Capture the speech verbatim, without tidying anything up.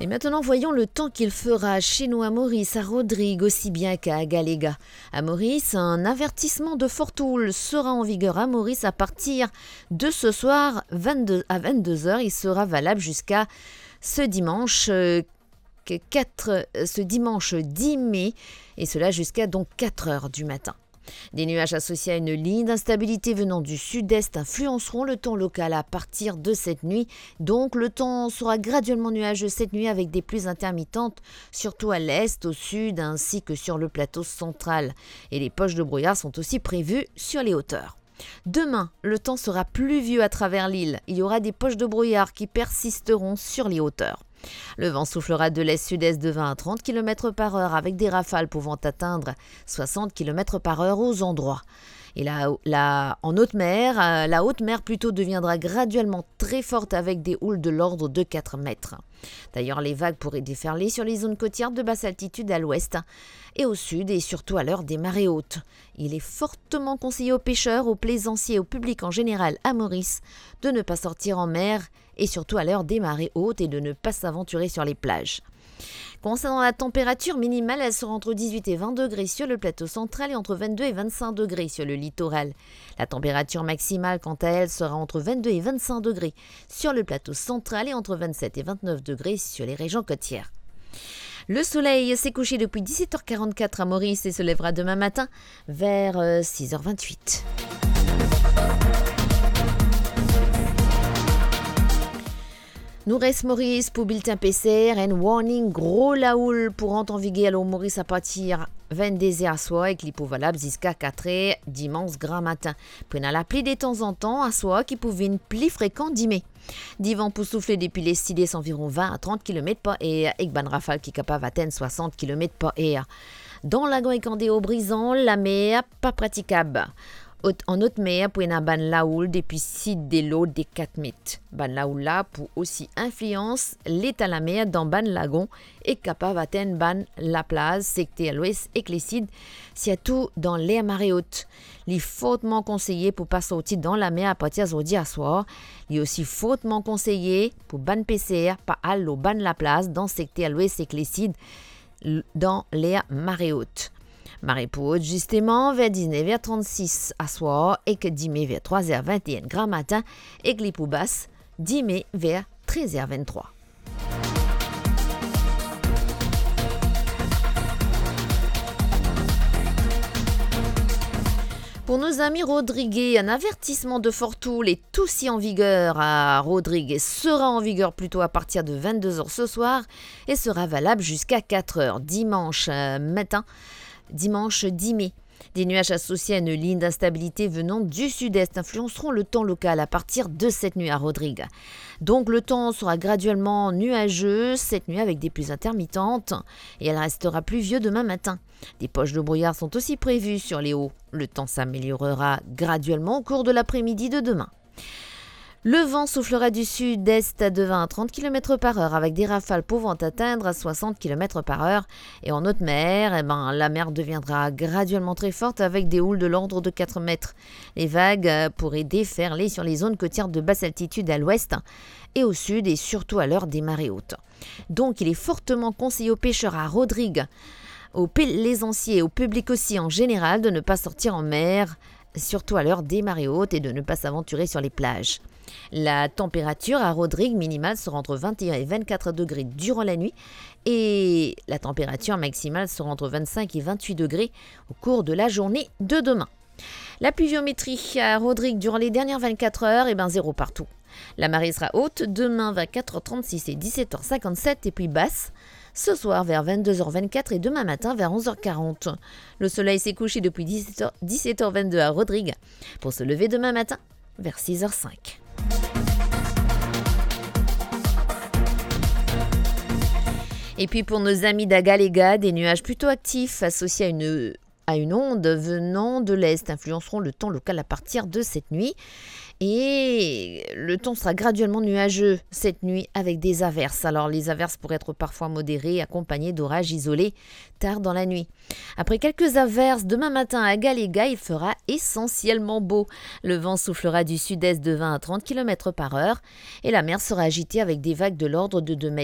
Et maintenant, voyons le temps qu'il fera chez nous à Maurice, à Rodrigues aussi bien qu'à Galega. À Maurice, un avertissement de forte houle sera en vigueur à Maurice à partir de ce soir vingt-deux, à vingt-deux heures. Il sera valable jusqu'à ce dimanche, euh, que quatre, euh, ce dimanche dix mai, et cela jusqu'à donc quatre heures du matin. Des nuages associés à une ligne d'instabilité venant du sud-est influenceront le temps local à partir de cette nuit. Donc, le temps sera graduellement nuageux cette nuit avec des pluies intermittentes, surtout à l'est, au sud, ainsi que sur le plateau central. Et les poches de brouillard sont aussi prévues sur les hauteurs. Demain, le temps sera pluvieux à travers l'île. Il y aura des poches de brouillard qui persisteront sur les hauteurs. Le vent soufflera de l'est-sud-est de vingt à trente kilomètres par heure avec des rafales pouvant atteindre soixante kilomètres par heure aux endroits. Et la, la, en haute mer, euh, la haute mer plutôt deviendra graduellement très forte avec des houles de l'ordre de quatre mètres. D'ailleurs, les vagues pourraient déferler sur les zones côtières de basse altitude à l'ouest et au sud, et surtout à l'heure des marées hautes. Il est fortement conseillé aux pêcheurs, aux plaisanciers et au public en général à Maurice de ne pas sortir en mer et surtout à l'heure des marées hautes et de ne pas s'aventurer sur les plages. Concernant la température minimale, elle sera entre dix-huit et vingt degrés sur le plateau central et entre vingt-deux et vingt-cinq degrés sur le littoral. La température maximale, quant à elle, sera entre vingt-deux et vingt-cinq degrés sur le plateau central et entre vingt-sept et vingt-neuf degrés sur les régions côtières. Le soleil s'est couché depuis dix-sept heures quarante-quatre à Maurice et se lèvera demain matin vers, euh, six heures vingt-huit. Nou res Moris pou biltin P C R, enn warning gro laoul pou rant an viger lor Moris apartir vennde zer aswar ek li pou valab ziska kat er dimans gramatin. Pou ena lapli detanzantan aswar ki pou vinn pli frekan dime. Divan pou soufle depi lesides anviron vin a trant kilomet par er ek bann rafal ki kapav atenn swasant kilomet par er. Dan lagon ek andeor Brizan, lamer pa pratikab. Ot-, an otmer pou ena bann laoul depi sid de lord de kat met. Bann laoul la pou osi inflians leta lamer dan bann lagon ek kapav atenn bann laplaz sekter lwes ek lesid, sirtou dan ler mare ot. Li fortman konseye pou pa sorti dan lamer apartir zordi aswar. Li osi fortman konseye pou bann peser pa al lor bann laplaz dan sekter lwes ek lesid l-, dan ler mare ot. Mare pou ot zisteman ver diznev er trannsis aswar ek dime ver trwa zer vinte-enn gramatin ek li pou bas dime ver trez er vinn-trwa. Pour nos amis rodriguais, un avertissement de forte houle est aussi en vigueur à Rodrigues et sera en vigueur plutôt à partir de vingt-deux heures ce soir et sera valable jusqu'à quatre heures dimanche, euh, matin, dimanche dix mai. Des nuages associés à une ligne d'instabilité venant du sud-est influenceront le temps local à partir de cette nuit à Rodrigues. Donc le temps sera graduellement nuageux cette nuit avec des pluies intermittentes et elle restera pluvieuse demain matin. Des poches de brouillard sont aussi prévues sur les hauts. Le temps s'améliorera graduellement au cours de l'après-midi de demain. Le vent soufflera du sud-est de vingt à trente kilomètres par heure avec des rafales pouvant atteindre soixante kilomètres par heure. Et en haute mer, eh ben, la mer deviendra graduellement très forte avec des houles de l'ordre de quatre mètres. Les vagues, euh, pourraient déferler sur les zones côtières de basse altitude à l'ouest et au sud et surtout à l'heure des marées hautes. Donc, il est fortement conseillé aux pêcheurs à Rodrigues, aux plaisanciers et au public aussi en général de ne pas sortir en mer, surtout à l'heure des marées hautes, et de ne pas s'aventurer sur les plages. La température à Rodrigues minimale sera entre vingt et un et vingt-quatre degrés durant la nuit et la température maximale sera entre vingt-cinq et vingt-huit degrés au cours de la journée de demain. La pluviométrie à Rodrigues durant les dernières vingt-quatre heures, eh ben, zéro partout. La marée sera haute demain vers quatre heures trente-six et dix-sept heures cinquante-sept et puis basse ce soir vers vingt-deux heures vingt-quatre et demain matin vers onze heures quarante. Le soleil s'est couché depuis dix-sept heures, dix-sept heures vingt-deux à Rodrigues pour se lever demain matin vers six heures cinq. Et puis pour nos amis d'Agalega, des nuages plutôt actifs associés à une à une onde venant de l'est influenceront le temps local à partir de cette nuit. Et le temps sera graduellement nuageux cette nuit avec des averses. Alors, les averses pourraient être parfois modérées, accompagnées d'orages isolés tard dans la nuit. Après quelques averses, demain matin à Agalega, il fera essentiellement beau. Le vent soufflera du sud-est de vingt à trente kilomètres par heure et la mer sera agitée avec des vagues de l'ordre de deux mètres.